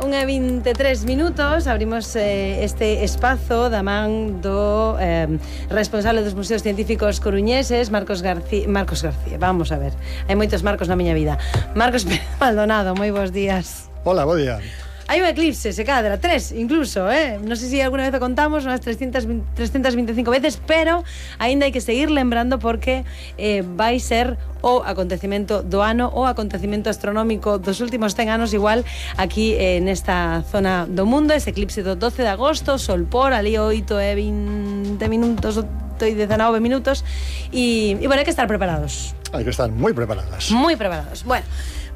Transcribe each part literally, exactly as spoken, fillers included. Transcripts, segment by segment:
unha vinte e tres minutos, abrimos eh, este espazo da man do eh, responsable dos Museos Científicos Coruñeses, Marcos García, Marcos García, vamos a ver, hai moitos Marcos na miña vida. Marcos Pérez Maldonado, moi bons días. Hola, bo día. Hai un eclipse, se cadra, tres incluso, eh? Non sei se alguna vez o contamos, unhas trescientas vinte e cinco veces, pero aínda hai que seguir lembrando porque eh, vai ser o acontecemento do ano, o acontecemento astronómico dos últimos cen anos, igual aquí eh, nesta zona do mundo, ese eclipse do doce de agosto, sol por, ali oito e vinte minutos, oito e dezenove minutos, e, e bueno, hai que estar preparados. Hai que estar moi preparadas. Moi preparados. Bueno,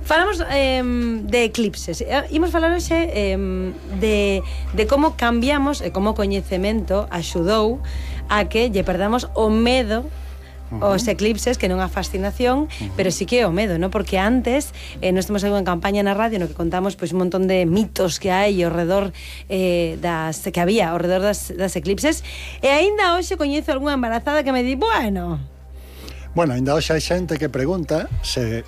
falamos eh, de eclipses. Imos falar hoxe eh, de, de como cambiamos e como o coñecemento axudou a que lle perdamos o medo Uh-huh. os eclipses, que non a fascinación, uh-huh. pero sí que o medo, ¿no? Porque antes eh, nós temos unha campaña na radio no que contamos pois, un montón de mitos que hai ao redor eh, das, que había ao redor das, das eclipses, e aínda hoxe coñezo algunha embarazada que me di, bueno... Bueno, aínda hoxe hai xente que pregunta se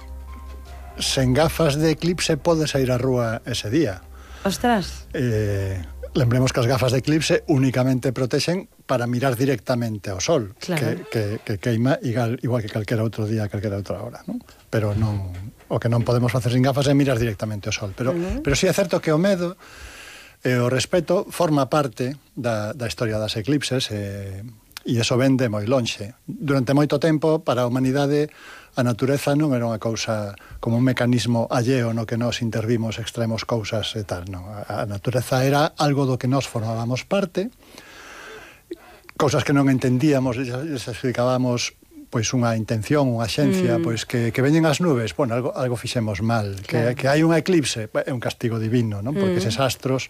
sen gafas de eclipse podes ir á rúa ese día. Ostras. Eh... Lembremos que as gafas de eclipse únicamente protexen para mirar directamente ao sol, claro. que, que, que queima igual, igual que calquera outro día, calquera outra hora, ¿no? Pero non, o que non podemos facer sin gafas é mirar directamente ao sol. Pero, uh-huh. pero sí é certo que o medo e o respeto forma parte da, da historia das eclipses e, e iso ven de moi lonxe. Durante moito tempo, para a humanidade, a natureza non era unha cousa como un mecanismo alleo no que nós intervimos, extremos cousas e tal, non. A natureza era algo do que nós formábamos parte, cousas que non entendíamos, les explicábamos pois unha intención, unha xencia, mm. pois que, que veñen as nubes, bueno, algo, algo fixemos mal, claro. que, que hai un eclipse, é un castigo divino, non? Porque mm. eses astros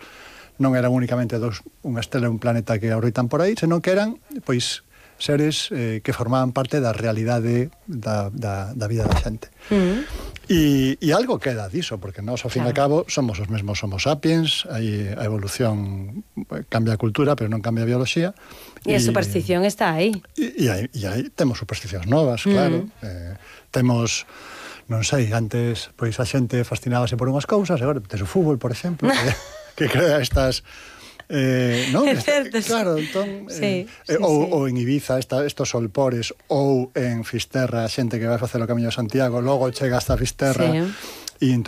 non eran únicamente dos, unha estela e un planeta que orbitan por aí, senón que eran, pois, seres eh, que formaban parte da realidade da, da, da vida da xente. Mm. E, e algo queda diso, porque nós, ao fin claro. e cabo, somos os mesmos homo sapiens, aí a evolución cambia a cultura, pero non cambia a biología. E a superstición está aí. E, e, aí, e aí temos supersticións novas, claro. Mm. Eh, temos... non sei, antes pois a xente fascinábase por unhas cousas, agora tes o fútbol, por exemplo, que, que crea estas... Eh, non? É certo, claro, entón, sí, eh, sí, ou, sí. ou en Ibiza esta, estos solpores, ou en Fisterra, xente que vai facer o Camiño de Santiago, logo chega hasta Fisterra, sí. e